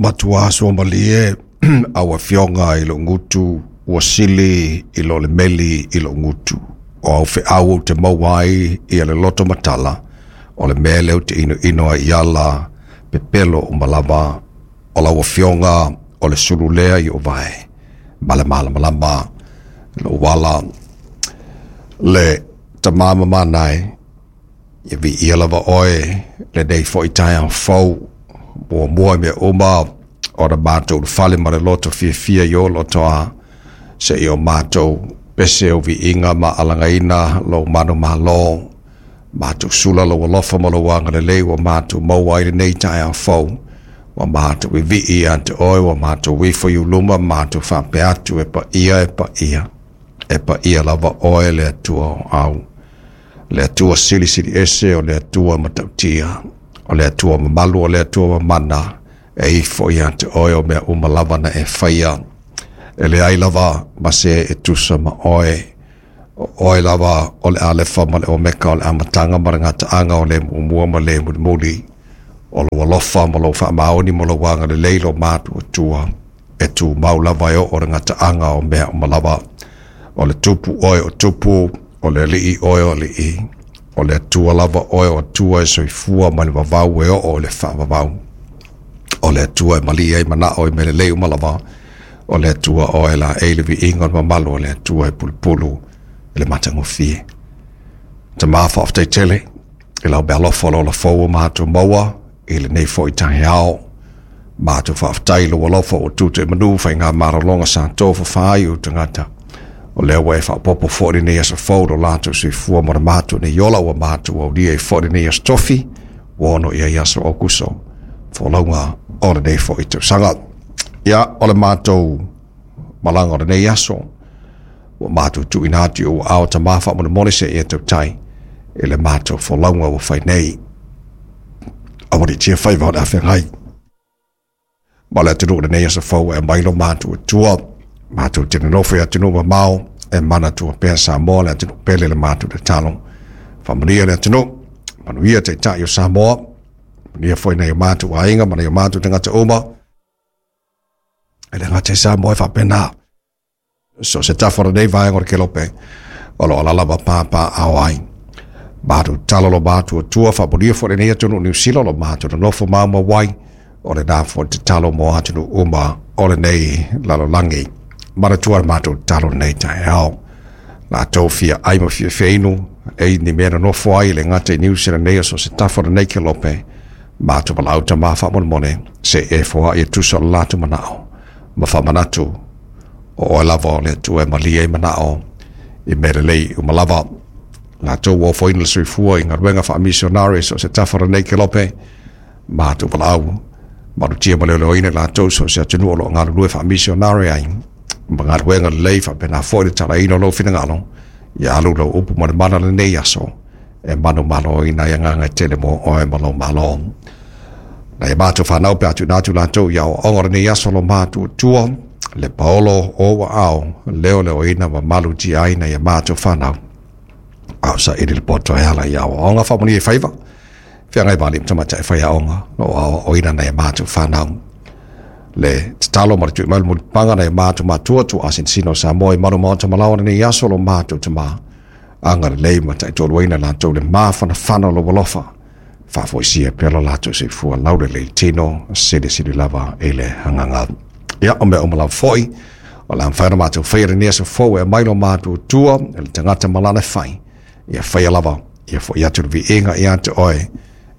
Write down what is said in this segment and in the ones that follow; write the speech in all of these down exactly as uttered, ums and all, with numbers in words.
Matua soamalie au afioga i lou gutu ua sili i lo le meli i lou gutu. O au feau ou te maua ai ia le loto matala, o le mea lea ou te inoino ai i ala pepelo uma lava, o lau afioga o le sulu lea i ou vae, ma le malamalama lou ala le tamā mamana e, ia viia lava oe lenei foi taeao fou, muamua i mea uma ona matou ulufale ma le loto fiafia i ou lotoa, seia o matou pese o viiga ma alagaina lou manumalo, matou sula lou alofa ma lou agalelei ua matou maua ai lenei taeao fou, ua matou vivii ia te oe, ua matou ifo i uluma matou faapea atu, e paia e paia, e paia lava oe le Atua o au, le Atua silisili ese, o le Atua matautia, o le Atua mamalu, o le Atua mamana, e ifo ia te oe o mea uma lava na e faia, e leai lava ma se e tusa ma oe, o oe lava o le Alefa ma le Omeka, o le amataga ma le gataaga, o le muamua ma le mulimuli, o lou alofa ma lou faamaoni ma lou agalelei lo matuatua, e tumau lava e oo le gataaga o mea uma lava, o le tupu oe o tupu, o le alii oe o alii, o le Atua lava oe o Atua e soifua mai le vavau e oo i le faavavau, o le Atua e malie ai manao i mea lelei uma lava, o le Atua oe la e le viiga o le mamalu, o le Atua e pulupulu i le matagofie. Tamā, faafetai tele i lau meaalofa o le ola fou ua matou maua i lenei foi taeao. Matou faafetai i lou alofa ua tuta i manu faigamalologa sa tofafa ai ou tagata. O lea ua e faaopoopo foi lenei aso fou lo latou soifua ma le matou nei ola ua matou aulia ai foi lenei aso tofi, ua ono i ai aso Aokuso, folauga o lenei foi tausaga. Ia, o le matou malaga o lenei aso, ua matou tuuina atu i ou aao tamā faamolemole se e tautai i le matou folauga ua fai nei. Aualiitia faiva o le afeagai ma le atunuu lenei aso fou e aumai lo matou Atua. Matou te nonofo i atunuu mamao e manatua pea Samoa le atunuu pele le matou tatalo. Faamanuia le atunuu, manuia taitai o Samoa, manuia foi nai o matou aiga ma nai o matou tagata uma. E le gata i Samoa e faapena. So se tafa o lenei vaega o le kelope, o lo o alaala ma papaaao ai. Matou tatalo lo matou Atua, faamanuia foi lenei atunuu Niu Sila lo matou nonofo maumau ai, o lena foi tatalo mo atunuu uma o lenei lalolagi. Manatua le matou tatalo lenei taeao. Latou fia ai ma fia feinu, e ni mea nonofo ai le gata i Niu Sila nei o so se tafa o lenei kelope, matou valaau tamā faamolemole, se e foai e tusa o le latou manao, ma faamanatu o oe lava o le Atua e malie ai manao i mea lelei uma lava. Latou ua ofoina le soifua i galuega faamisionare so o se tafa o lenei kelope, matou valaau, malutia ma leoleoina i latou so o se atunuu o lo o galulue faamisionare ai, ma galuega lelei faapena foi le talaina o lou finagalo, ia alu lau upu ma le mana lenei aso, e manumaloina ai agaga e tele mo oe ma lou malo. Nai a matou fanau pe a tuuina atu latou i aoaoga o lenei aso lo matou Atua, le paolo o ou aao, leoleoina ma malutia ai nai a matou fanau. A o saili le poto e ala i aoaoga faamanuia i faiva, feagai ma alii ma tamaitai e faiaoga, o aoaoina nai a matou fanau. Le tatalo ma le tui mai le mulipapaga nai a matou matua tuaa sinosino o Samoa i malu maota malaoa lenei aso lo matou tamā, agalelei ma taitoluaina latou le mafanafana o lou alofa, faafoisia pea lo latou soifua laulelei tino, silisili lava i le agaga. Ia, o mea uma lava foi, o le a mafai ona matou faia lenei aso fou e aumai lo matou Atua, e le tagata ma lana fai, ia faia lava, ia foi atu le viiga ia te oe,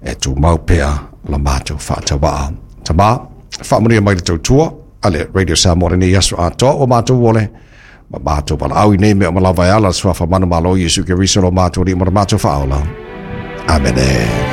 e tumau pea la matou faatauvaa. Tamā, faamanuia mai le tautua a le Radio Samoa lenei aso atoa ua matou ole, ma matou valaau i nei mea uma lava e ala le suafa manumalo o Iesu Keriso lo matou Alii ma le matou Faaola. Amene.